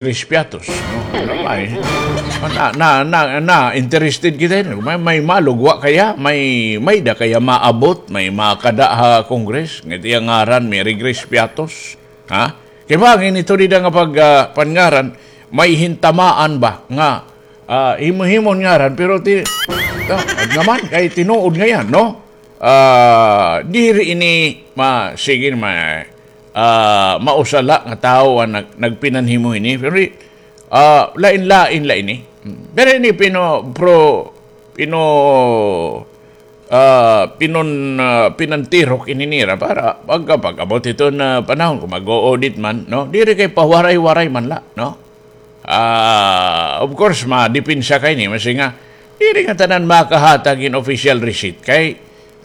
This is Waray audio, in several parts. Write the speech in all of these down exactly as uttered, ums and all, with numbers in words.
Chris Piatos, no? Ano ba, eh? Na, na, na, na, interested kita, eh. May, may malugwa kaya? May, may da kaya maabot? May makada ha Congress? Ngati ang ngaran, Mary Grace Piatos. Ha? Kay bangin ito dida nga pag, ah, panngaran, may hintamaan ba nga, ah, himo-himo ngaran, pero ti, ah, naman, kay tinuod nga yan, no? Ah, diri ini ma-, sige, ma-, ah, mausa la nga tawo an nag-, nagpinanhimo hini. Pero, ah, lain-lain la ini. Pero ini pino-, pro-, pino-, ah, pinon-, ah, pinantirok ini nira para pagka, pag-abot iton panahon, kon mag-o-audit man, no? Diri kay pawaray-waray man la, no? Ah, of course, madepensa kay ni, masi nga, diri nga tanan makahatag hin official receipt. Kay,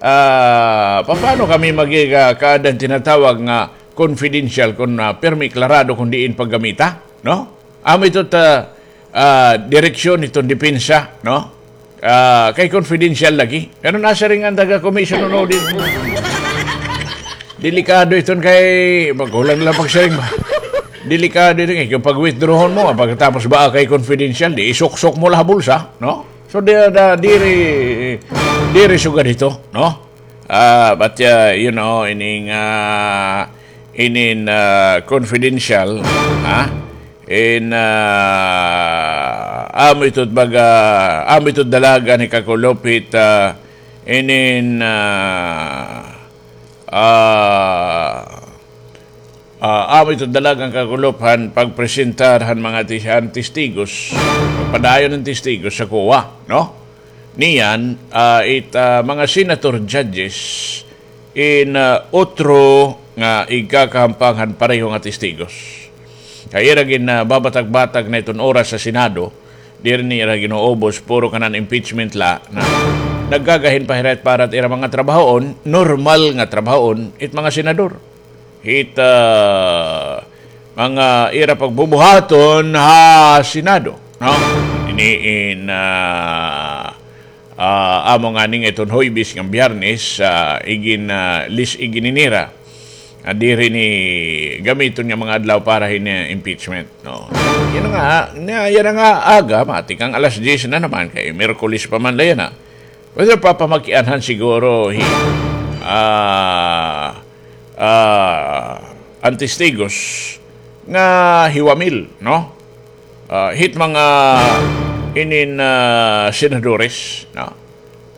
ah, papaano kami magigakaad han tinatawag nga confidential kon, ah, pirmi klarado kon diin paggamita, no? Amo ito ta, ah, direksyon iton depensa, no? Ah, kay confidential lagi. Pero nasiring an taga-commission on audit. Delikado iton kay, magkulang lang pagsiring ba? Delikado iton kay, kon pag-withdrawon mo, ah, pagkatapos ba kay confidential, di isuksok mo la ha bulsa, no? So, di, da, diri, diri sugad ito, no? Ah, but, ah, you know, ining, ah, inin, ah, confidential, ha? In, ah, amo ito baga, amo ito dalagan ni kakulop hit, ah, inin, ah, ah, ah, amo ito dalagan kakulop han pagpresentar han mga tis-, han testigos, padayon han testigos sa COA, no? Niyan, ah, it, ah, mga senator judges in, ah, utro nga igkakahampang han pareho nga testigos. Kay ira gin, ah, babatag-batag na iton oras sa Senado, diri nira gin-uubos, puro kanan impeachment la, na nagkagahin pa hira it para it ira mga trabahoon, normal nga trabahoon, it mga senador. Hit, ah, mga ira pagbubuhaton ha Senado, no? Ini in, ah, ah, amo ngani nga iton Huwebes ngan Biyernes, ah, igin, ah, lis-, igin ini nira. Ah, diri ini gamiton nga mga adlaw para hin, ah, impeachment, no? Yana nga, na, yana nga aga, matikang alas diyes na naman, kay Miyerkules pa man la yana. Pero papamakianhan siguro hi, ah, ah, an testigos nga hiwamil, no? Ah, hit mga inin, ah, senadores, no?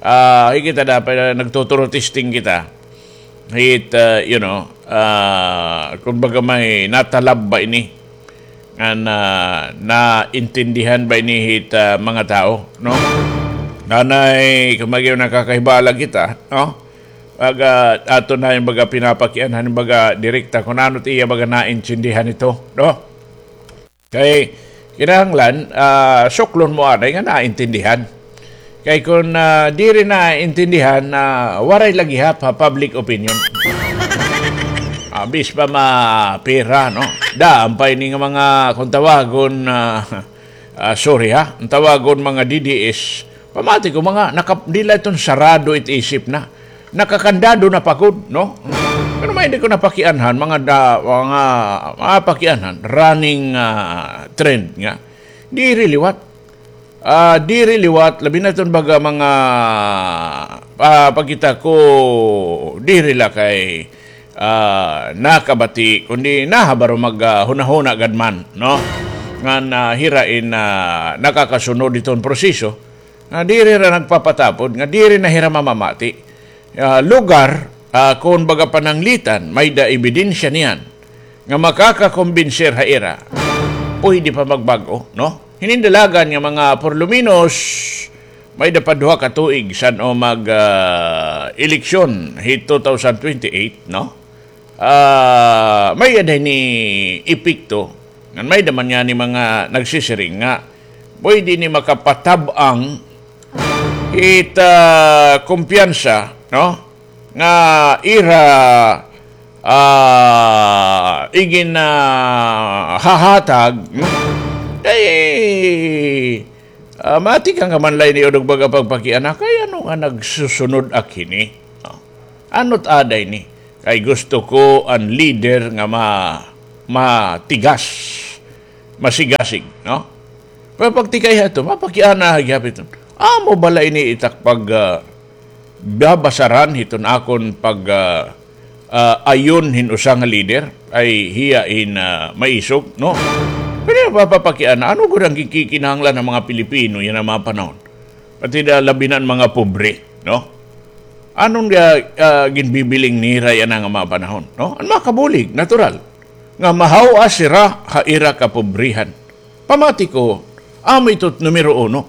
Ah, hi kita dapat, ah, nagtuturo testing kita. Hit, ah, you know, ah, kumbaga may natalab ba ini? Ngan, ah, naintindihan ba ini hit, ah, mga tawo, no? Nanay, kumbaga nakakahibala kita, no? Baga, aton na hin baga pinapakianhan, baga direkta kon ano it iya baga naintindihan ito, no? Kay, kinahanglan, ah, suklon mo anay nga naintindihan. Kay kon, ah, diri naintindihan, ah, waray la gihap ha public opinion. Ah, bis pa mapira, no? Daan pa ini nga mga, kon tawagon, ah, ah, sorry ha, kon tawagon mga D D S, pamati ko mga naka-, diri la iton sarado it isip na. Nakakandado na pa gud, no? Pero may di ko napakianhan, mga da-, mga, mga pakianhan, running, ah, trend nga. Diri liwat. Ah, diri liwat, labi na iton baga mga, ah, pagkita ko, diri la kay, ah, nakabati, kundi nahabaro mag, ah, hunahuna gad man, no? Ngan, ah, hira in, ah, nakakasunod iton proseso, nga diri hira nagpapatapod, nga diri na hira mamamati. Ah, lugar, ah, kon baga pananglitan, may-da ebidensya niyan nga makakakombenser ha ira, pwede pa magbag-o, no? Hinin dalagan nga mga por lo menos, may-da pa duha ka tuig san-o mag, ah, eleksyon hi two thousand twenty-eight, no? Ah, may-ada ini epekto. Ngan may-da man ngani mga nagsisiring nga pwede ini makapatab-ang hit, ah, kumpiyansa, no? Nga ira, ah, igin, ah, hahatag, hmm? Kay, ah, matikang ka man la ini, o, nagbaga pagpakiana, kay ano nga nagsusunod ak hini? No? Ano't ada ini? Kay gusto ko an leader nga ma-, matigas. masigasig, no? Pero pagtikay ha ito, mapakiana ha gihap iton. Amo bala ini it ak pag, ah, babasaran hiton akon pag, ah, ah, ayon hin usa nga lider, ay hiya in, ah, maisog, no? Pero mapapakiana, ano gud an kikinahanglan han mga Pilipino yana nga mga panahon? Pati na labi na an mga pobre, no? Ano nga, ah, ginbibiling nira yana nga mga panahon, no? An mga kabulig, natural. Nga mahaw-as hira ha ira kapobrehan. Pamati ko, amo ito it numero uno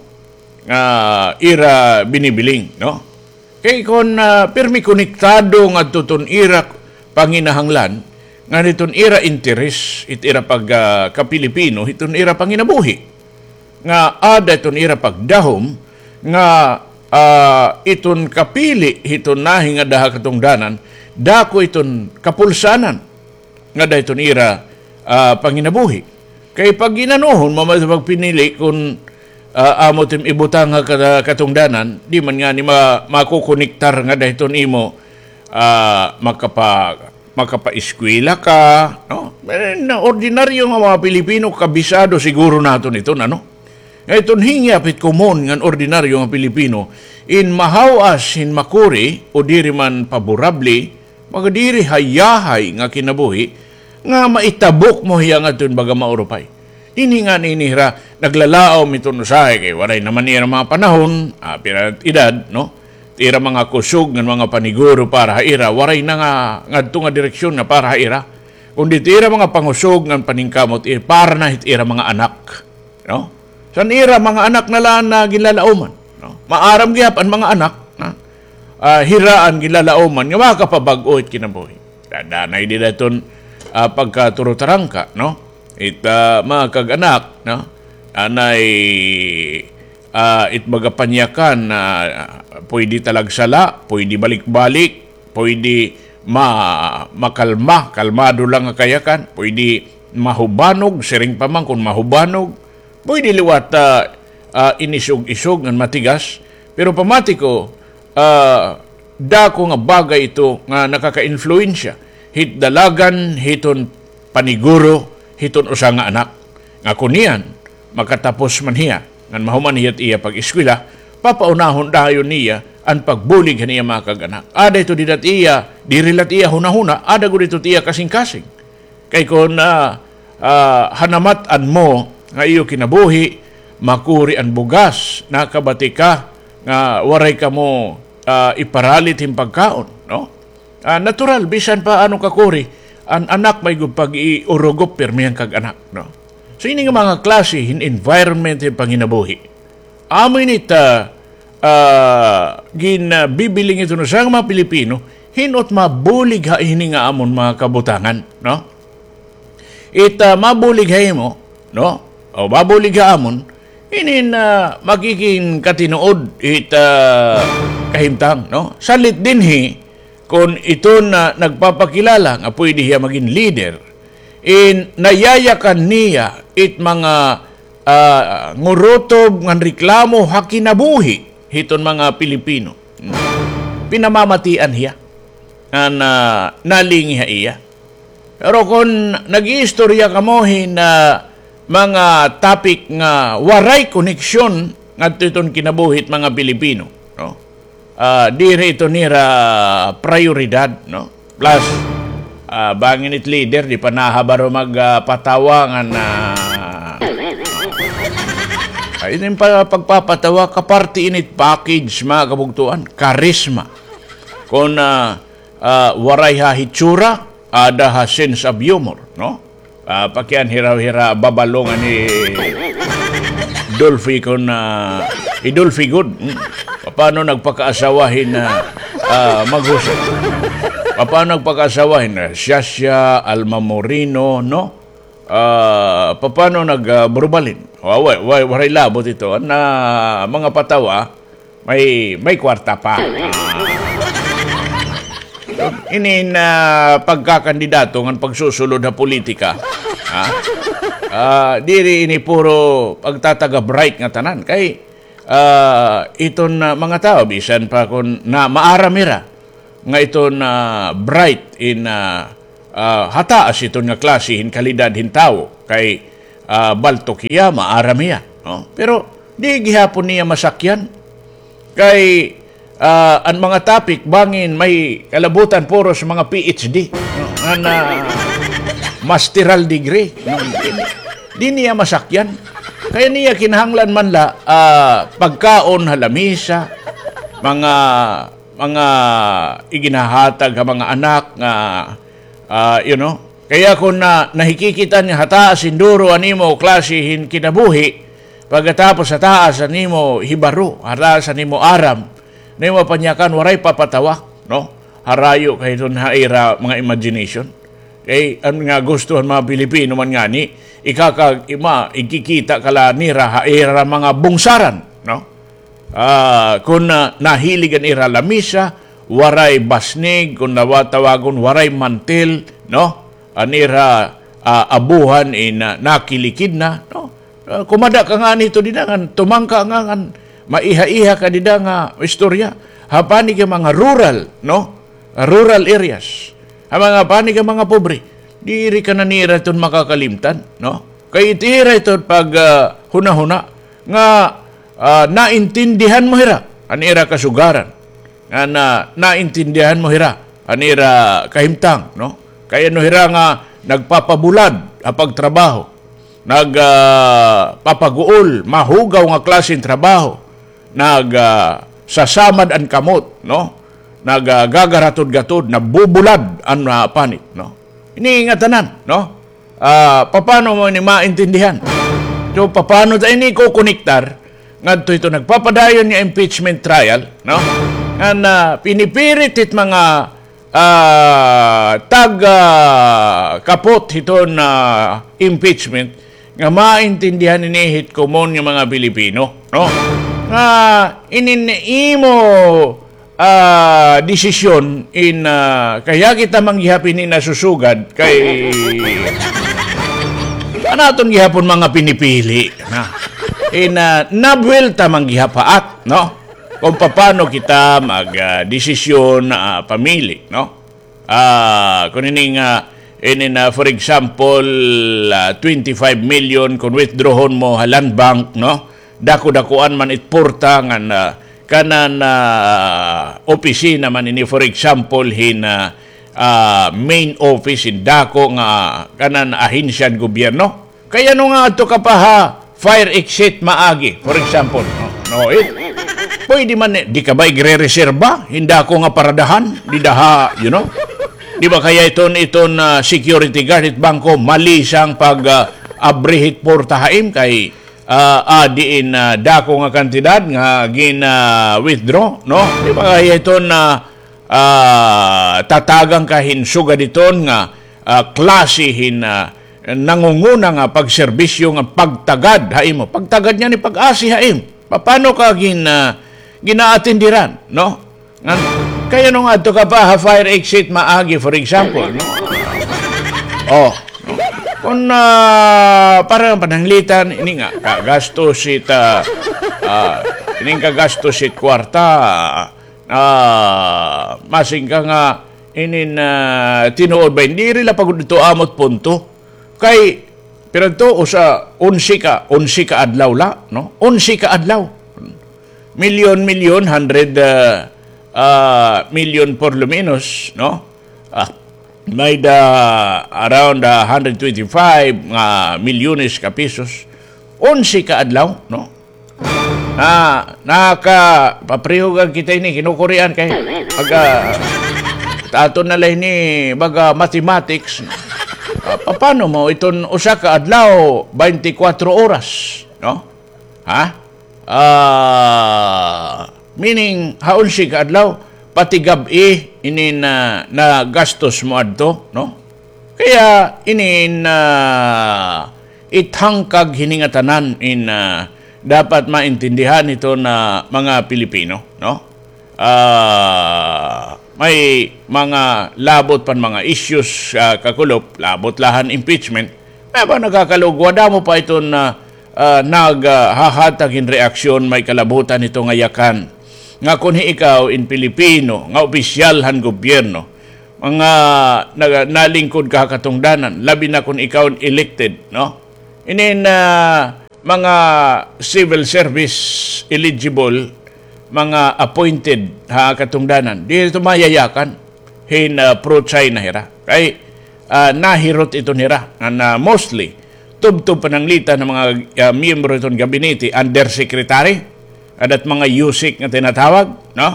nga ira binibiling, no? Kay kon, ah, pirmi konektado ngadto iton ira panginahanglan, ngan iton ira interes, it ira pag, ah, ka-Pilipino, iton ira panginabuhi. Nga ada iton ira pagdahom, nga, ah, iton kapili hiton nahingada ha katungdanan, dako iton kapulsanan ngada hiton ira, ah, panginabuhi. Kay pag gin-anohon mo man pagpinili kon, ah, amo it im ibutang ha ka-, katungdanan, di man ngani ma-, makokonektar ngada hiton imo, ah, makapa-, makapaeskwela ka, no? Eh, na ordinaryo nga mga Pilipino, kabisado siguro naton iton, ano? Nga iton hingyap it komon ngan ordinaryo nga Pilipino, in mahaw-as hin makuri o diri man paborable, baga diri hayahay nga kinabuhi, nga maitabok mo hiya ngadto hin baga maurupay. Ini ngani ini hira, naglalaom iton usahay kay waray na man ira mga panahon, ah, pira edad, no? Ira mga kusog ngan mga paniguro para ha ira, waray na nga ngadto nga direksyon nga para ha ira. Kundi it ira mga pangusog ngan paningkamot, eh, para na hit ira mga anak. No? San ira mga anak na la an, ah, ginlalaoman, no? Maaram gihap an mga anak, no? Ah, hira an ginlalaoman nga makapabag-o it kinabuhi. Da-, danay dida iton, ah, pagkaturutarangka, no? It, ah, mga kag-anak, no? Anay, ah, it baga panyakan na pwede talagsala, pwede balik-balik, pwede ma-, makalma, kalmado lang nga kayakan, pwede mahubanog, siring pa man kon mahubanog, pwede liwat, ah, ah, inisog-isog ngan matigas. Pero pamati ko, ah, dako nga bagay ito nga nakaka-influensya hit dalagan hiton paniguro hiton usa nga anak. Nga kon niyan, makatapos man hiya, ngan mahuman hiya it iya pag-eskwela, papaunahon dayon niya an pagbulig han iya mga kag-anak. Ada ito dida it iya, diri la it iya hunahuna, ada gud ito it iya kasingkasing. Kay kon, ah, ah, hanamat-an mo nga iyo kinabuhi, makuri an bugas, nakabati ka nga waray kamo, ah, iparalit hin pagkaon, no? Ah, natural, bisan pa ano kakuri, an anak may gud pag-iurugop pirmi han kag-anak, no? So, ini nga mga klase hin environment hin panginabuhi. Amo ini it, ah, ah, gin, ah, bibiling iton usa nga mga Pilipino, hin-o it mabulig ha hini nga amon mga kabutangan, no? It, ah, mabulig ha imo, no? O mabulig ha amon, inin, ah, magkikingkatinuod it, ah, kahimtang, no? Salit dinhi, kon iton nagpapakilala nga pwede hiya magin leader, in nayayakan niya it mga, ah, ngurutob ngan reklamo ha kinabuhi hiton mga Pilipino. Pinamamatian hiya. Ngan, ah, nalingi ha iya. Pero kon nag-iistorya kamo hin, ah, mga topic nga waray koneksyon ngadto iton kinabuhi hit mga Pilipino, no? Ah, diri ito nira prayoridad, no? Plus, ah, bangin it leader, di pa nahabaro mag, ah, patawa ngan, ah, ay, ini pa, pagpapatawa, kaparte ini it package, mga kabugtuan, karisma. Kon, ah, ah, waray ha hitsura, ada ha sense of humor, no? Ah, pakian hira-hira babalongan ni Dolphy kon, ah, hi Dolphy gud. Hmm. Paano nagpakaasawa hin, ah, ah, Maghusay? Paano nagpakaasawa hin, ah, Shasha, Alma Moreno, no? Ah, paano nag, ah, Burbalin? Wa-, wa-, wa-, waray labot ito. An, ah, mga patawa, may, may kwarta pa. Ah. Inin, ah, pagkakandidato ngan pagsusulod ha politika, ha? Ah, diri ini puro pagtataga bright nga tanan. Kay, ah, iton, ah, mga tawo, bisan pa kon na maaram hira nga iton, ah, bright in, ah, ah, ha taas iton nga klase hin kalidad hin tawo. Kay, ah, baltok hiya, maaram hiya, no? Pero di gihapon niya masakyan. Kay, ah, an mga topic, bangin may kalabutan puro sa mga P H D, no? An, ah, masteral degree, no? Di niya masakyan. Kay niya kinahanglan man la, ah, pagkaon ha lamisa, mga, mga iginhahatag ha mga anak nga, ah, you know, kaya kon na, nahikikita niya ha taas hin duro an imo klase hin kinabuhi, pagkatapos ha taas an imo hibaro, ha taas an imo aram, na imo panyakan, waray papatawa, no? Harayo ka hiton ha ira mga imagination. Kay an nga gusto han mga Pilipino man ngani, ikaka-, ima-, ikikita ka la nira ha ira mga bungsaran, no? Ah, kon, ah, nahilig an ira lamisa, waray basnig, kon nawa-, tawagon, waray mantil, no? An ira, ah, abuhan in, ah, nakilikid na, no? Ah, kumada ka ngani hito dida ngan tumangka nga ngan maiha-iha ka dida nga istorya. Ha panig ha mga rural, no? Rural areas. Ha mga panig ha mga pobre. Diri ka na nira iton makakalimtan, no? Kay it ira iton pag, ah, hunahuna nga, ah, naintindihan mo hira an ira kasugaran. Nga na, naintindihan mo hira an ira kahimtang, no? Kay ano hira nga nagpapabulad ha pagtrabaho, nag, ah, papaguol, mahugaw nga klaseng trabaho, nag, ah, sasamad an kamot, no? Nag, ah, gagaratod-gatod, nabubulad an, ah, panit, no? Ini nga tanan, no? Ah, papano mo ini maintindihan? So, papano ta ini kokonektar ngadto hito nagpapadayon nga impeachment trial, no? Nga, ah, pinipirit hit mga, ah, tag, ah, kapot hiton, ah, impeachment nga maintindihan ini hit komon nga mga Pilipino, no? Nga inin imo ah, desisyon in, ah, kaya kita man gihap ini nasusugad kay an aton gihapon mga pinipili na in, ah, nabuwelta man gihap ha at, no? Kon papano kita mag, ah, desisyon, ah, pamili, no? Ah, kon ini nga, ini na, for example, ah, twenty-five million kon withdrawhon mo ha Land Bank, no? Dako-dakoan man it porta ngan, ah, kanan, ah, opisina man ini, for example, hin, ah, ah, main office hin dako nga kanan ahensya han gobyerno. Kay ano nga adto ka pa ha fire exit Maagi, for example, no? No, it, pwede man, eh, di ka ba igre-reserba hin dako nga paradahan dida ha, you know? Di ba kaya iton, iton, ah, security guard hit bangko, malisang pag, ah, abri hit porta ha im kay, ah, ah, diin, ah, dako nga kantidad nga gin, ah, withdraw, no? Di ba kaya iton, ah, ah, tatagan ka hin sugad iton nga, ah, klase hin, ah, nangunguna nga pagserbisyo nga pagtagad ha imo. Pagtagad niya ni pag-asi ha im. Papano ka gin-, ah, ginaatendiran, no? Ngan, kay ano nga adto ka pa ha fire exit Maagi, for example, no? Oh. Kon, ah, para pananglitan, ini nga, kagastos it, ah, ah, ining kagastos it kwarta, ah, masing ka nga, inin, ah, tinuod ba, diri la pa gud ito amo it punto. Kay, pira ito, usa, onse ka, onse ka adlaw la, no? Onse ka adlaw. Milyon, milyon, hundred, ah, ah, milyon por lo menos, no? Ah, may da around, ah, hundred twenty-five nga milyones ka pesos. Onse ka adlaw, no? Ah, nakapapareho gad kita ini, kinukurian kay aga, aton na la ini, baga mathematics. Ah, papano mo iton usa ka adlaw, twenty-four oras, no? Ha? Ah, meaning, ha onse ka adlaw, pati gab-i, ini na, nagastos mo adto, no? Kaya, ini na, ithangkag hini nga tanan in, ah, dapat maintindihan hito na mga Pilipino, no? Ah, may mga labot pan mga issues, ah, kakulop, labot la han impeachment. May ba nakakalugwa, damo pa iton, ah, ah, nag, ah, hahatag hin reaksyon, may kalabutan hito nga yakan. Nga kon hi ikaw in Pilipino, nga opisyal han gobyerno, mga naga-, nalingkod ka ha katungdanan, labi na kon ikaw in elected, no? Inin, ah, mga civil service eligible, mga appointed ha katungdanan. Diri ito mayayakan hin, ah, pro-China hira. Kay, ah, nahirot ito nira. Ngan, ah, mostly, tubtob pananglitan nga mga, ah, miyembro hiton gabinete, undersecretary, adat mga USEC nga tinatawag, no?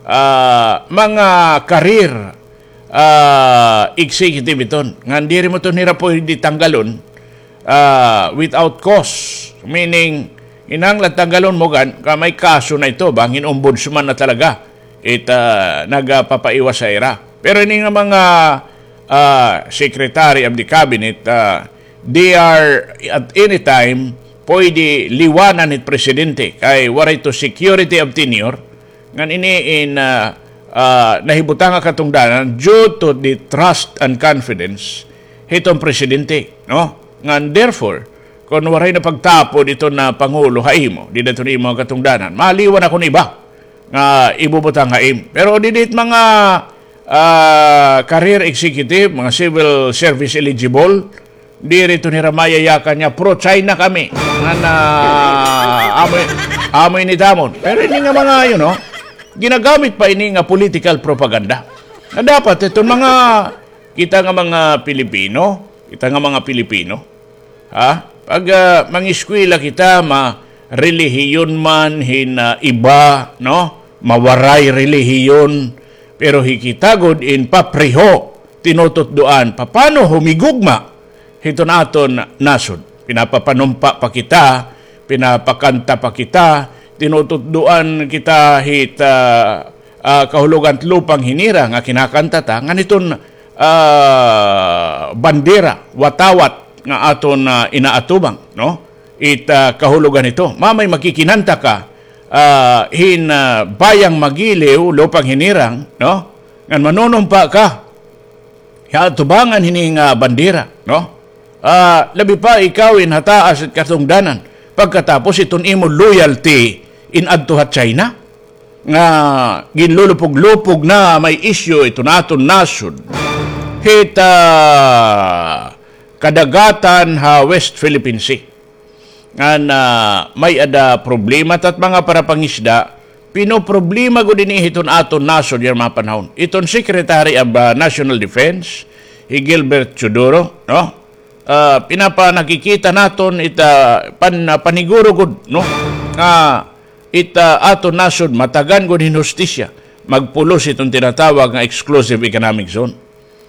Ah, mga career ah, executive iton. Ngan diri mo iton hira pwede tanggalon, ah, without cause. Meaning, kinahanglan tanggalon mo gad, kay may kaso na ito, bangin ombudsman na talaga it, ah, nagapapaiwas ha ira. Pero ini nga mga, ah, secretary of the cabinet, ah, they are at any time pwede liwanan hit presidente kay waray ito security of tenure. Ngan ini in, ah, ah, nahibutang ha katungdanan due to the trust and confidence hiton presidente, no? Ngan therefore, kon waray na pagtapod iton, ah, pangulo ha imo, dida iton imo ha katungdanan, maliwan ako hin iba nga ibubutang ha imo. Pero didi it mga, ah, career executive, mga civil service eligible, diri ito nira mayayakan nga pro-China kami. Ngan, ah, amo, amo ini it amon. Pero ini nga mga, you know, ginagamit pa ini nga political propaganda. Nga dapat iton mga, kita nga mga Pilipino, kita nga mga Pilipino, ha? Pag, ah, mangiskwela kita, ma-relihiyon man hin, ah, iba, no? Mawaray relihiyon, pero hi kita gud in papriho, tinututdoan, papano humigugma hiton aton nasod. Pinapapanumpa pa kita, pinapakanta pa kita, tinututdoan kita hit, ah, ah, kahulogan hit lupang hinirang nga kinakanta ta, ngan hiton, ah, bandera, watawat nga aton, ah, inaatubang, no? It, ah, kahulogan hito. Mamay makikinanta ka, ah, hin, ah, Bayang Magiliw, lupang hinirang, no? Ngan manunumpa ka ha atubangan hini nga bandera, no? Ah, labi pa ikaw in ha taas it katungdanan. Pagkatapos iton imo loyalty in adto ha China nga ginlulupog-lupog na may isyu iton aton nasod hit, ah, kadagatan ha West Philippine Sea. Ngan, ah, may-ada problema tat mga parapangisda, pinoproblema gud ini hiton aton nasod yana mga panahon. Iton Secretary of, ah, National Defense, hi Gilbert Teodoro, no? Ah, pinapanakikita naton ita pan-, ah, paniguro gud, no? Nga ita aton nasod matagan gud hin hustisya, magpulos iton tinatawag nga exclusive economic zone.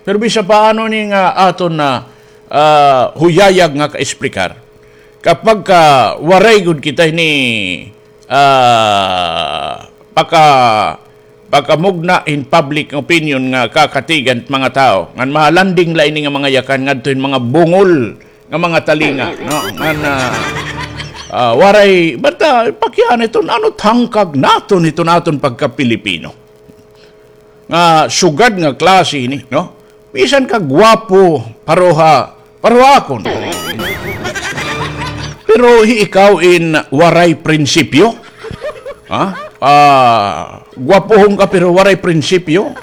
Pero bisan paano ini nga aton na, ah, huyayag nga kaexplikar, kapag ka waray gud kita ini, ah, paka-, pakamugna hin public opinion nga kakatigan hit mga tawo, ngan mahalanding la ini nga mga yakan ngadto hin mga bungol nga mga talinga, no? Ngan, ah, ah, waray, bata, pakiana iton, ano it hangkag naton, iton aton pagka-Pilipino. Nga sugad nga klase ini, no? Bisan ka gwapo, pareho, pareho akon. Pero hi ikaw in waray prinsipyo. Ha? Ah, gwapohon ka pero waray prinsipyo.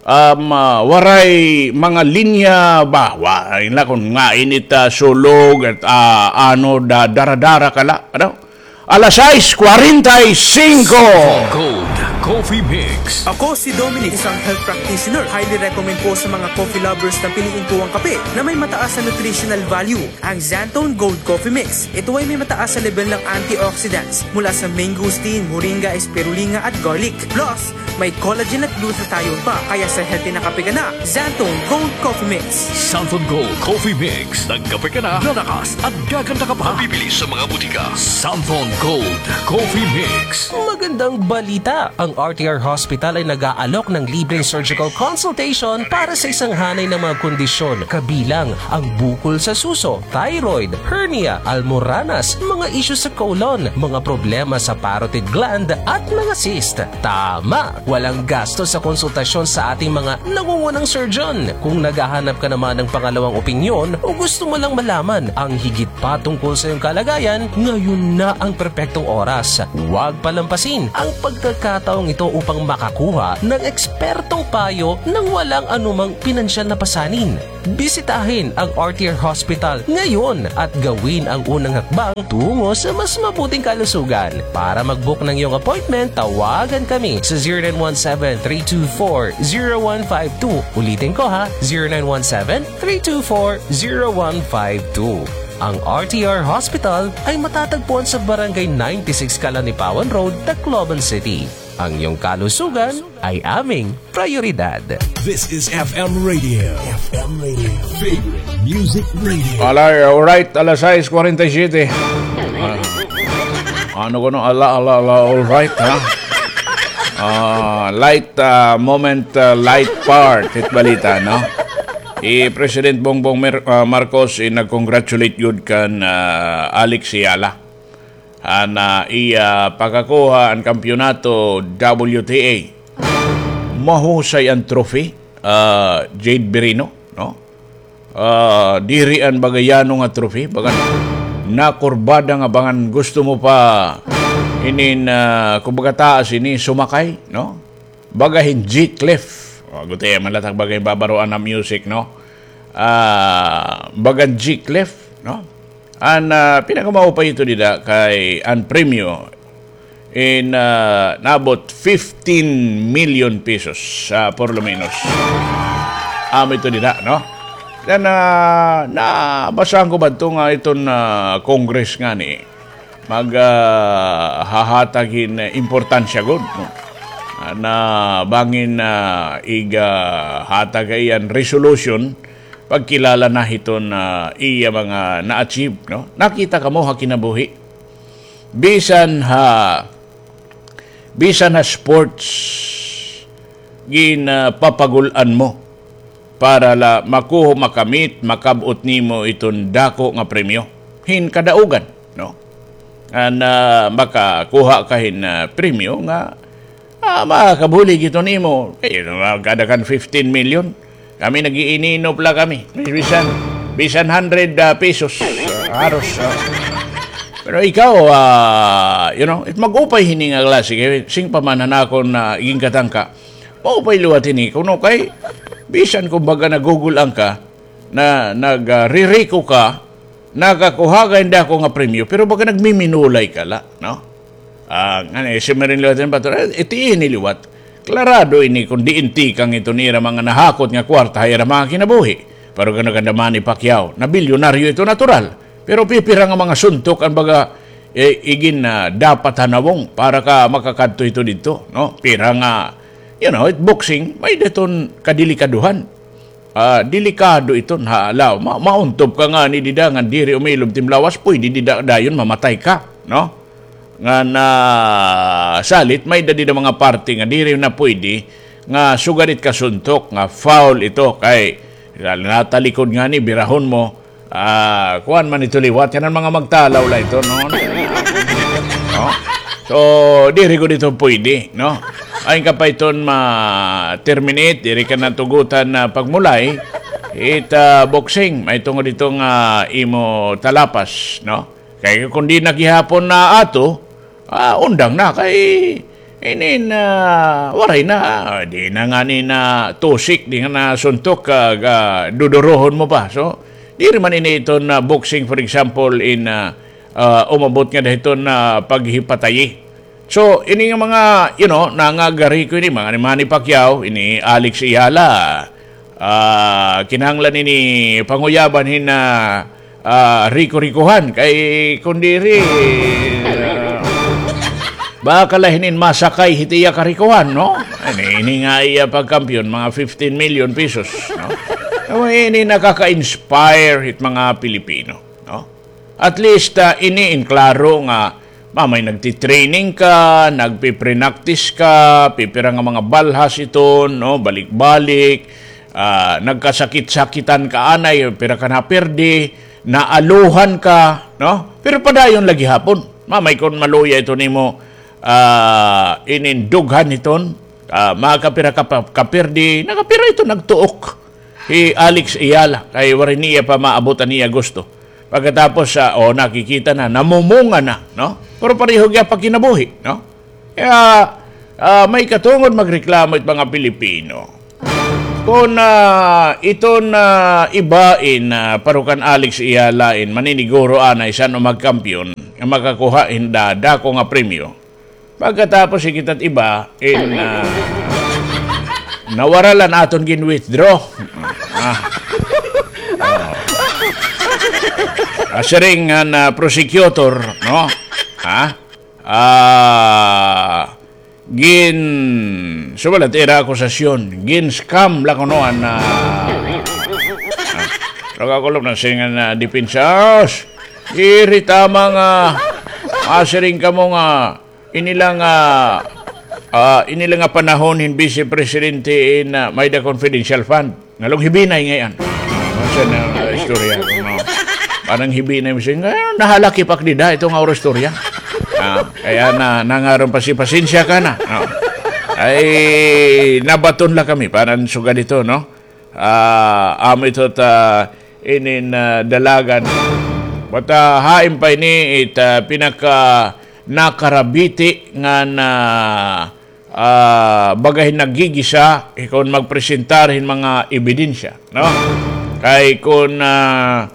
Um, ah, waray mga linya ba? Waray la kon ngain it, ah, sulog at, ah, ano, da-, dara-dara ka la, ano? Alas sais kwarenta y singko. Gold Coffee Mix. Ako si Dominic, isang health practitioner. Highly recommend ko sa mga coffee lovers na piliin ko ang kape na may mataas na nutritional value, ang Xanthone Gold Coffee Mix. Ito ay may mataas na level ng antioxidants mula sa mangosteen, moringa, spirulina at garlic. Plus, may collagen at glutathione pa, kaya sa healthy na kape ka na, Xanthone Gold Coffee Mix. Xanthone Gold Coffee Mix. Nagkape ka na, lalakas at gaganda ka pa. Mabibili sa mga butika. Xanthone Gold Coffee Mix. Magandang balita! Ang R T R Hospital ay nag-aalok ng libreng surgical consultation para sa isang hanay ng mga kondisyon, kabilang ang bukol sa suso, thyroid, hernia, almoranas, mga isyu sa colon, mga problema sa parotid gland, at mga cyst. Tama! Walang gasto sa konsultasyon sa ating mga nangungunang surgeon. Kung naghahanap ka naman ng pangalawang opinyon o gusto mo lang malaman ang higit pa tungkol sa iyong kalagayan, ngayon na ang perpektong oras. Huwag palampasin ang pagkakataong ito upang makakuha ng ekspertong payo nang walang anumang pinansyal na pasanin. Bisitahin ang R T R Hospital ngayon at gawin ang unang hakbang tungo sa mas mabuting kalusugan. Para mag-book ng iyong appointment, tawagan kami sa zero nine one seven, three two four, zero one five two. Ulitin ko ha, zero nine one seven, three two four, zero one five two. Ang R T R Hospital ay matatagpuan sa Barangay ninety-six Kalanipawan Road, Tacloban City. Ang iyong kalusugan ay aming prioridad. This is F M Radio. F M Radio. Favorite Music Radio. Alay, alright, alas sais kwarenta y siyete. Ah, ano ko no? Ala, ala, ala, alright, ha? Ah, light, ah, moment, ah, light part, hit balita, no? I President Bongbong Mer-, ah, Marcos, i nag-congratulate gud kan, ah, Alex Ayala. An, ah, iya pagkakuha an kampiyonato W T A. Mahusay an trophy, ah, Jade Birino, no? Ah, diri an baga yano nga trophy, baga nakurbada nga bangan gusto mo pa inin, ah, kumbaga taas ini sumakay, no? Baga hin G-Clef. O, gutiay man la it ak baga hin babaroan nga music, no? Ah, baga hin G-Clef, no? An, ah, pinakamaupay ito dida kay an premyo in, ah, naabot fifteen million pesos, ah, por lo menos. Amo ito dida, no? Then, ah, nabasahan ko ba ito nga iton, ah, Congress ngani mag, ah, hahatag hin importansya gud, no? Ah, na bangin, ah, iga hatag iyan resolution, pagkilala na hiton, ah, iya mga na-achieve, no? Nakita kamo ha kinabuhi. Bisan ha, bisan ha sports, ginapapagul-an mo para la makuha, makamit, makab-ot nimo iton dako nga premyo. Hin kadaugan, no? An, ah, makakuha ka hin, ah, premyo nga, ah, makakabulig ito nimo. Kay, ah, kada kan fifteen million, kami nag-iininop la kami. Bisan, bisan hundred, ah, pesos. Ah, haros, ah. Pero ikaw, ah, you know, it mag-upay hini nga klase. Kay sing pa man han akon, ah, iginkatangka. Maupay liwat hini. Kuno kay, bisan kumbaga nagugul-an ka, na, nag, ah, ririko ka, nakakuha ka hin dako nga premyo, pero baga nagmiminulay ka la, no? Ah, ngani, si Marin liwat hin bato, eh, iti ini liwat. Klarado ini kon diin tikang iton ira mga nahakot nga kwarta ha ira mga kinabuhi. Pero gana kan Manny Pacquiao, nabilyonaryo ito natural. Pero pipira nga mga suntok an baga, eh, igin na dapat ha nawong para ka makakadto ito didto, no? Pira nga, you know, it boxing, may-ada iton kadelikadohan. Ah, delikado iton ha law. Ma-, mauntob ka ngani dida ngan diri umilob it im lawas, puyde dida dayon mamatay ka, no? Ngan, ah, salit, may-ada dida mga parte nga diri na puyde nga sugad it kasuntok nga foul ito kay natalikod ngani, birahon mo, ah, kuan man ito liwat, yana an mga magtalaw la ito, no? No? So, diri gud ito puyde, no? Ain ka pa iton ma-terminate, diri ka natugutan na pagmulay, it, ah, boxing, may tungod ito nga imo talapas, no? Kay kon di na gihapon na ato, ah, undang na kay inin, ah, waray na, ah, di na ngani na tusik, di nga na suntok, ah, ga-, dudurohon mo pa. So, diri man ini iton, ah, boxing, for example, in, ah, ah, umabot ngada hiton, ah, paghipatayi. So, ini nga mga, you know, nangagariko ini, mga ni Manny Pacquiao, ini Alex Ayala, ah, kinahanglan ini panguyaban hin, ah, ah, riko-rikohan. Kay kon diri, ah, baka la hinin masakay hit iya karikohan, no? Ini, ini nga iya pagkampiyon, mga fifteen million pesos, no? Ini nakaka-inspire hit mga Pilipino, no? At least, ah, ini in klaro nga mamay nagtitraining ka, nagpiprinaktis ka, pipira nga mga balhas iton, no, balik-balik, ah, nagkasakit-sakitan ka anay, pira ka napirdi, naaluhan ka, no? Pero padayon la gihapon. Mamay kon maluya ito nimo, ah, inin dughan hiton, Ah, makapira ka pa, kapirdi, nakapira ito nagtuok. Hi Alex Ayala, kay waray niya pa maabot an iya gusto. Pagkatapos, ah, o, nakikita na, namumunga na, no? Pero pareho gihap pa kinabuhi, no? Kaya, ah, may katungod magreklamo it mga Pilipino. Kon, ah, iton, ah, iba in, ah, paro kan Alex Ayala in maniniguro anay san-o magkampiyon nga makakuha hin da-, dako nga premyo. Pagkatapos hikita't iba in, ah, nawara la an aton gin-withdraw. Ah. Oh. Asiring an, ah, prosecutor, no? Ha? Ah, gin-, sumala it ira akusasyon, gin-scam la kuno an, ah, ah, nakakulop na siring an, ah, depensa. Diri tama nga, ah, siring kamo nga, ini la nga, ah, ini la nga panahon hin Vice Presidente in, ah, may-ada confidential fund. Nalong hibinay ngay-an. Unsa na, ah, istorya, no? Parang hibinay mo siya, "Ah, nahalaki pa ak dida, ito nga oro istorya." Ah, kaya na, nangaron pa si pasensya ka na. No? Ay, nabaton la kami, parang sugad ito, no? Ah, amo ito ta, inin, ah, dalagan. But, ah, hain pa ini, it, ah, pinaka nakarabiti nga na ah, baga hin naggigisa, eh, kon magpresentar hin mga ebidensya, no? Kay kon, ah,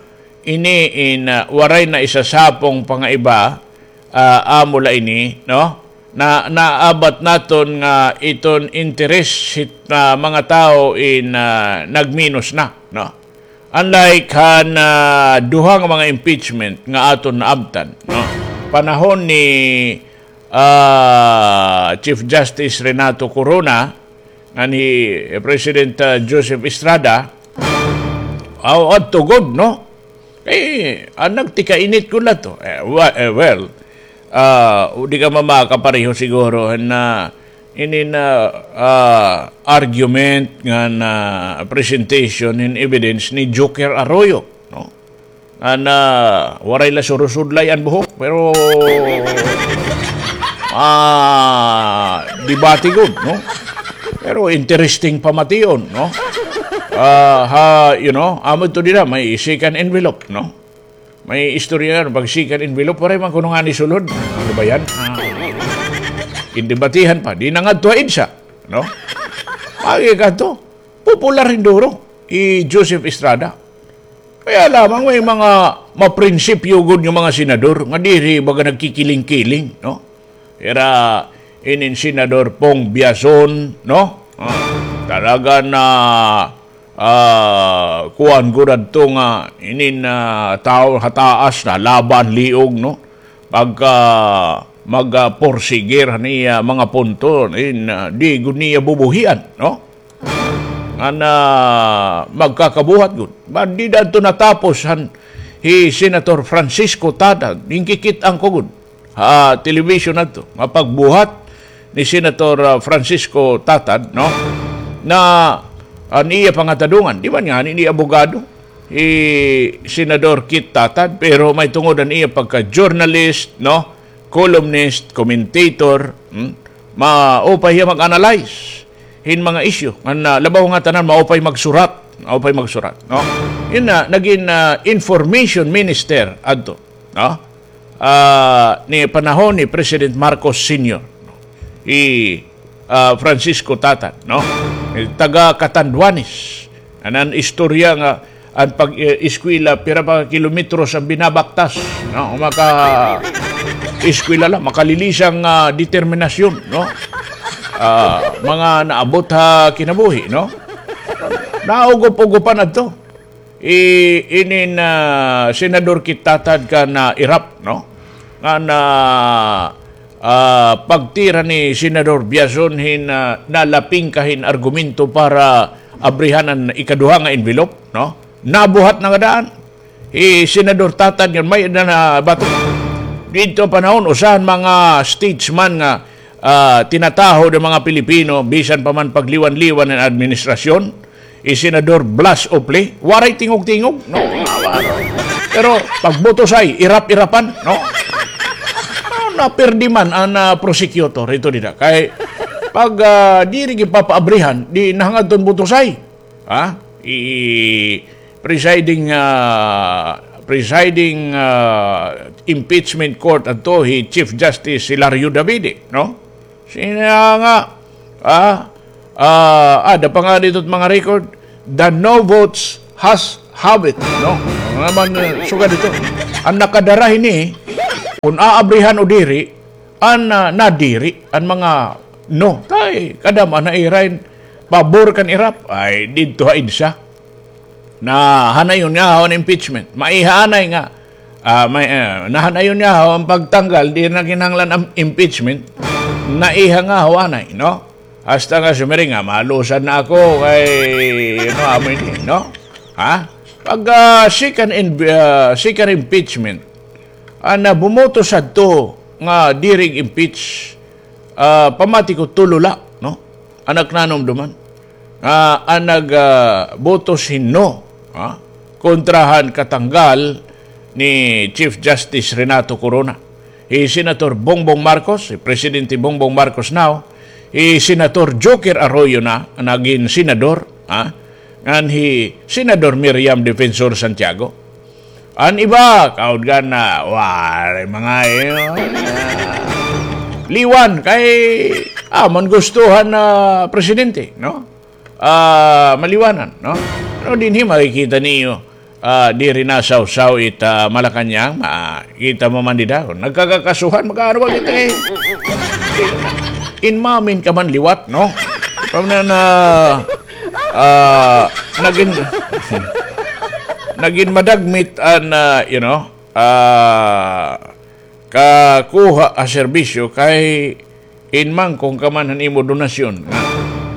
ini in, ah, waray na isasapong pa nga iba, ah, amo la ini, no? Na, naabat naton nga iton interes hit, ah, mga tawo in, ah, nagminos na, no? Unlike han, ah, duha nga mga impeachment nga aton naabtan, no? Panahon ni, ah, Chief Justice Renato Corona ngan hi President, ah, Joseph Estrada, aw, adto gud, no? Eh, an nagtikainit gud la to. Eh, wa-, eh, well, ah, di ka man makapareho siguro na inin, ah, argument ngan presentation hin evidence ni Joker Arroyo, no? Ngan waray la surusudlay an buhok, pero, ah, debate gud, no? Pero interesting pamation, no? Ah, ha, you know, amo ito dida, may second envelope, no? May istorya nga, pag second envelope, waray man kuno ngani sulod. Ano ba yan? Ah. Gindebatehan pa. Di na ngadto ha EDSA, no? Agi kadto, popular hin duro hi Joseph Estrada. Kaya lamang may mga maprinsipyo gud nga mga senador nga diri baga nagkikiling-kiling, no? Ira inin Senador Pong Biazon, no? Ah, talaga na, ah, kuan gud adto nga inin, ah, tawo ha taas na laban liog, no? Pagka mag, ah, porsigir han iya mga punto, in, ah, di gud niya bubuhian, no? Ngan, ah, magkakabuhat gud. Ba, dida adto natapos han hi Senator Francisco Tatad, ginkikit-an ko gud ha television adto, nga pagbuhat ni Senator, ah, Francisco Tatad, no? Na an iya pangatadungan, di man ngani ini abogado hi Senador Kit Tatad, pero may tungod an iya pagka-journalist, no? Columnist, commentator, hmm? Maupay hiya mag-analyze hin mga isyu. Ngan, ah, labaw nga tanan, maupay magsurat. Maupay magsurat, no? Yun na, naging, ah, information minister adto, no? Ah, ni panahon ni President Marcos Senior, no? Hi, ah, Francisco Tatad, no? Taga Catanduanes. An, an istorya nga an pag, eh, eskwela, pira pa kilometros an binabaktas, no? Maka-eskwela la, makalilisang, ah, determinasyon, no? Ah, mga naabot ha kinabuhi, no? Naugup-ugupan adto. I-, inin, ah, Senador Kit Tatad kan, ah, irap, no? Ngan, ah, pagtira ni Senador Biazon hin, ah, nalapingka hin argumento para abrihan an ikaduha nga envelope, no? Nabuhat na nga daan. Hi Senador Tatad ngan may-ada na bato. Didto panahon, usa han mga statesman nga, ah, tinataho han mga Pilipino, bisan pa man pagliwan-liwan an administrasyon, hi Senador Blas Ople, waray tingog-tingog, no? Pero pagbutos ay irap-irapan, no? No, napirdi man an, ah, prosecutor, ito dida. Kay, Pag, ah, diri ginpapaabrihan, di na ngadton butosay. Ha? I-, presiding, ah, presiding, ah, impeachment court adto hi Chief Justice Hilario Davide, no? Siring nga, ah, ah, ada pa nga didto mga record, the no votes has have it, no? Ano naman, eh, sugad ito. An nakadara hini, kun aabrihan o diri, an, ah, nadiri, an mga no. Kay, kadam-an na ira hin pabor kan IRAP, ay, didto ha EDSA. Nahanayon nga haw an impeachment. Maiha anay nga, ah, may, ah, nahanayon nga haw an pagtanggal, di na kinahanglan an impeachment. Naiha nga haw anay, no? Hasta nga sumiring nga, malusan na ako kay, ano, amo ini, no? Ha? Pag, ah, second in-, ah, second impeachment, an, ah, bumoto sadto nga diri impeach, ah, pamati ko tulo la, no? An ak nanumduman. Ah, an nag, ah, boto hin no, ha? Kontra han katanggal ni Chief Justice Renato Corona. Hi Senator Bongbong Marcos, hi Presidente Bongbong Marcos now, hi Senator Joker Arroyo na, nagin senador, ha? Ngan hi Senador Miriam Defensor Santiago. An iba, kaudgan na, waray mga, eh, liwan, kay, ah, man gusto han, ah, presidente, no? Ah, maliwanan, no? Pero dinhi makikita niyo, ah, diri nasawsaw it, ah, Malacañang, makita mo man dida. Nagkakakasuhan, mag-aano ba kita, eh? Inmamin ka man liwat, no? Pamana na, ah, nagin-, nagin madagmit an, ah, you know, ah, kakuha ha serbisyo kay inmangkong ka man han imo donasyon nga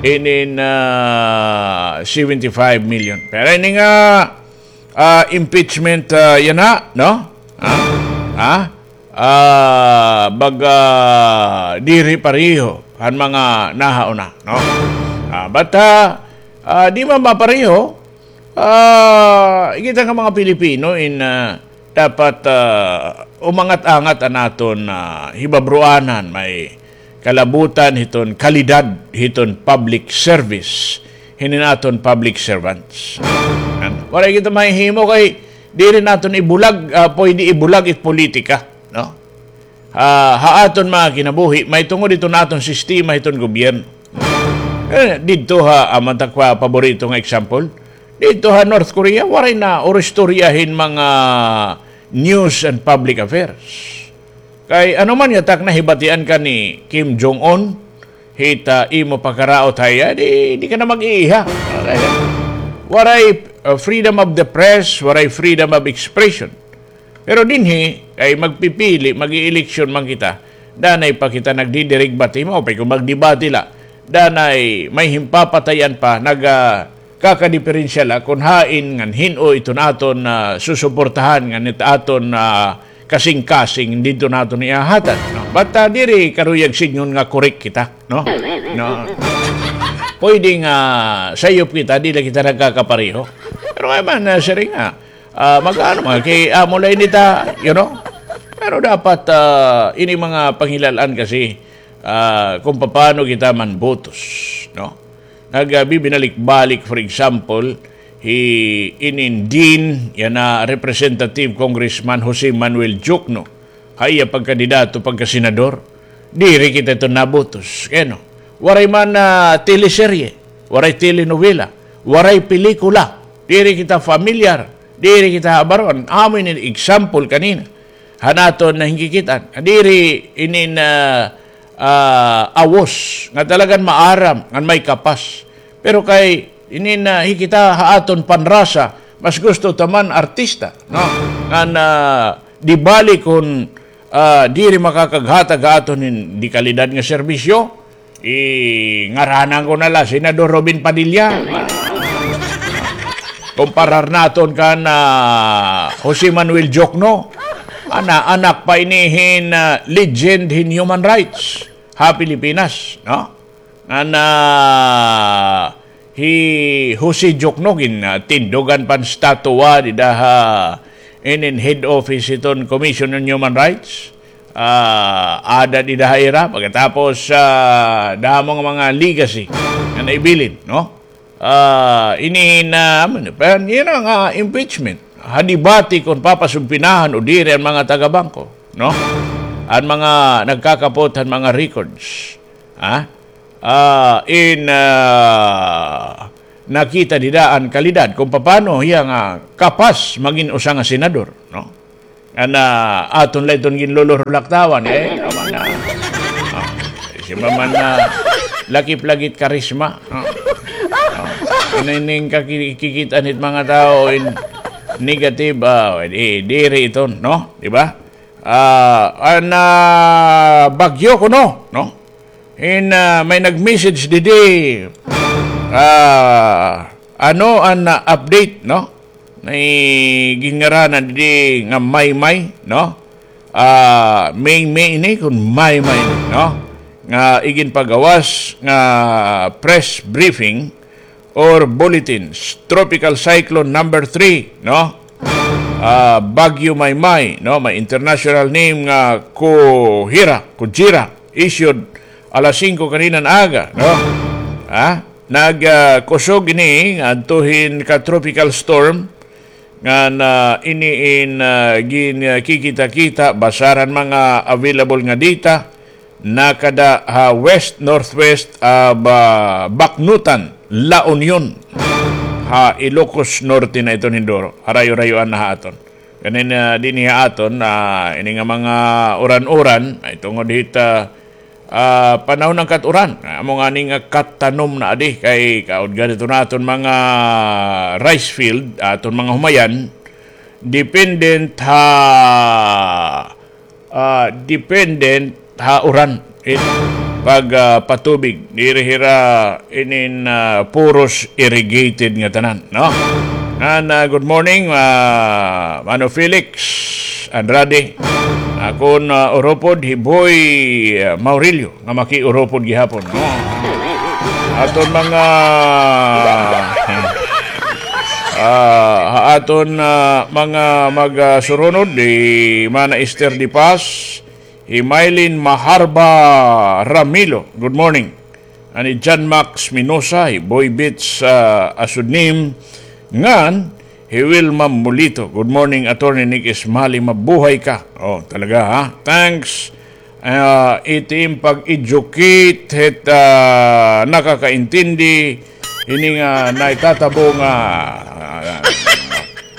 inin, ah, seventy-five million. Pero ini nga, ah, impeachment, ah, yana, no? Ha? Ha? Ah, baga diri pareho han mga nahauna, no? Ah, but, ah, ah, di man mapareho, ah, kita nga mga Pilipino in, ah, dapat, ah, umangat-angat an aton, ah, hibabruanan, may kalabutan hiton kalidad hiton public service, hinin aton public servants. An, waray kita mahihimo kay diri naton ibulag, ah, pwede ibulag it politika, no? Ah, ha aton mga kinabuhi, mahitungod iton aton sistema hiton gobyerno. Eh, didto ha, amo an ak paborito nga example. Didto ha North Korea, waray na uristorya hin mga news and public affairs. Kay ano man nga tak nahibatian ka ni Kim Jong-un, hit, ah, imo pakaraot ha iya, di, di ka na mag-iiha. Waray, uh, freedom of the press, waray freedom of expression. Pero dinhi, kay magpipili, mag-ieleksyon man kita. Danay pa kita nagdidiregbate, maupay kon magdebate la. Danay may himpapatayan pa, nag, ah, kakadiperensiya la kon hain ngan hin-o iton aton, ah, susuportahan ngan it aton, ah, kasingkasing didto naton ihahatag, no? But, ah, diri karuyag sidngon nga korek kita, no? No. Pwede nga sayop kita, di la kita nagkakapareho. Pero kay man, ah, siring nga, ah, mag-ano man, kay amo la ini ta, you know? Pero dapat, ah, ini mga panghilal-an kasi, ah, kon papaano kita manbotos, no? Nag, ah, bibinalik-balik, for example, hi inin dean yana Representative Congressman Jose Manuel Diokno, ha iya pagkandidato pagkasenador, diri kita ito nabotos. Kay ano? Waray man, ah, teleserye, waray telenovela, waray pelikula, diri kita familiar, diri kita habaron. Amo ini example kanina han aton nga hinkikit-an. Diri ini nga, ah, awos nga talagan maaram ngan may kapas. Pero kay ini nga hikit-an ha aton panrasa, mas gusto ta man artista, no? Ngan, ah, di bali kon, ah, diri makakaghatag ha aton hin de kalidad nga serbisyo, ingaranan ko na la, Senador Robin Padilla. Komparar naton kan, ah, Jose Manuel Diokno. Ana, anak pa ini hin, ah, legend hin human rights ha Pilipinas, no? Ngan, ah, hi Jose Diokno gin, ah, tindugan pa hin statwa dida ha inin head office hiton Commission on Human Rights. ah, ada dida ha ira, pagkatapos, ah, damo nga mga legacy nga naibilin, no? Ah, ini na, ano, pero yun ang, ah, impeachment. Ha debate kung papasubpinahan o diri ang mga taga-bangko, no? Ang mga nagkakapot han mga records. Ha? Ah, in, ah, nakita dida an kalidad kung papano hiya nga kapas magin usa nga senador, no? An, ah, aton la iton ginlulurulaktawan, eh, tama na. Ah, si Mama na lakip lagit karisma. Ah, ah, ano ining kaki-, kikita nit mga tao in negative, ah, di, diri iton, no? Di ba? Ah, an, ah, bagyo kuno, no? In, ah, may nag-message didi, ah, ano an, ah, update, no? May ginngaranan didi nga Maymay, no? Ah, Maymay ini kun Maymay ini, no? Nga iginpagawas nga press briefing or bulletins. Tropical Cyclone number three, no? Ah, Bagyo Maymay, no? May international name nga Kuhira, Kujira, issued alas singko kaninan aga, no? Ha? Nag, ah, kusog ini ngadto hin ka tropical storm nga na ini in, ah, gin, ah, kikita-kita basar han mga available nga data. Nakada ha west-northwest of, ah, Baknutan, La Union, ha Ilocos Norte na iton hinduro. Harayo-rayoan na ha aton. Kanin, ah, dinhi ha aton, ah, ini nga mga uran-uran, ay tungod hit, ah, ah, panahon han kat-uran. Amo ngani nga kattanom na adi kay kaudgan ito na aton mga rice field, aton mga humayan, dependent ha ah, dependent ha uran. It, pag, ah, patubig, diri hira inin, ah, puros irrigated nga tanan, no? Ngan, ah, good morning, ah, Mano Felix Andrade. Akon, ah, uropod, hi Boy, ah, Maurilio, nga makiuropod gihapon, no? Aton mga, ah, ha aton, ah, mga mag, ah, surunod, di Mana Esther de Paz, hi Mylene Maharba Ramilo, good morning. Ani John Max Minosa, hi Boy Bits, ah, Asudnim, ngan hi Wilma Mulito. Good morning, Attorney Nick Ismali, mabuhay ka. Oh, talaga, ha? Thanks. Ah, iti im pag-educate, hit, ah, nakakaintindi, ini nga naitatabo nga, ah,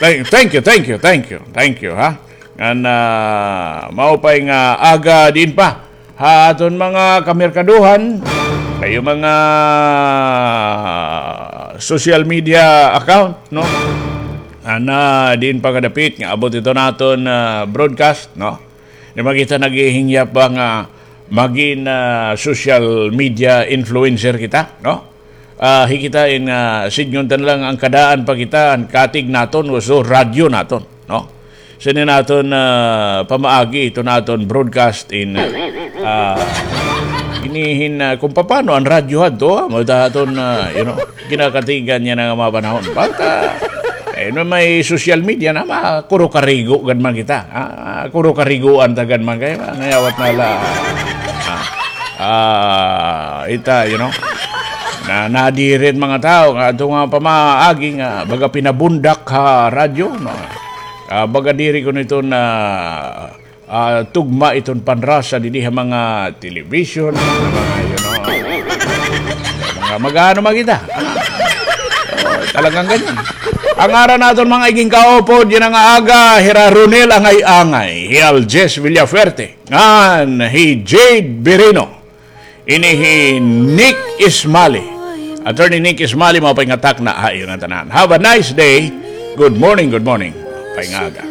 thank, thank you, thank you, thank you, thank you, ha? Ngan, ah, maupay nga aga diin pa ha aton mga kamerkaduhan, kayo mga social media account, no? Ana, diin pa kadapit nga abot ito naton, ah, broadcast, no? Di ba kita naghihingyap ba nga magin, ah, social media influencer kita, no? Ah, hi kita in, ah, sidngon ta na la nga an kadaan pa kita, an katig naton, uso radyo naton, no? Sini naton, ah, pamaagi, ito naton broadcast in, ah, inihin, ah, kung paano an radyo hadto, ah, mo ta aton, ah, you know, kinakatigan niya na nga mga panahon. But, ah, eh, no, may social media na, makuro-karigo gad man kita. Ah, kuro-kariguan ta gad man kay, ah, nayawat na la. Ah, ah, ita, you know. Na, nadiri it mga tao nga ato nga pamaagi nga baga pinabundak ha radyo, no? Ah, baga diri ko nito na, ah, tugma iton panrasa didi ha mga television, ha mga, you know, mga mag-ano man kita. Oh, talagang ganyan. An ngaran naton mga igin kaupod, yana nga aga, hira Ronel Angay-angay, hi Aljes Villafuerte, ngan hi Jade Birino. Ini hi Nick Ismali. Attorney Nick Ismali, maupay nga takna ha iyo nga tanan. Have a nice day. Good morning, good morning. Maupay nga aga.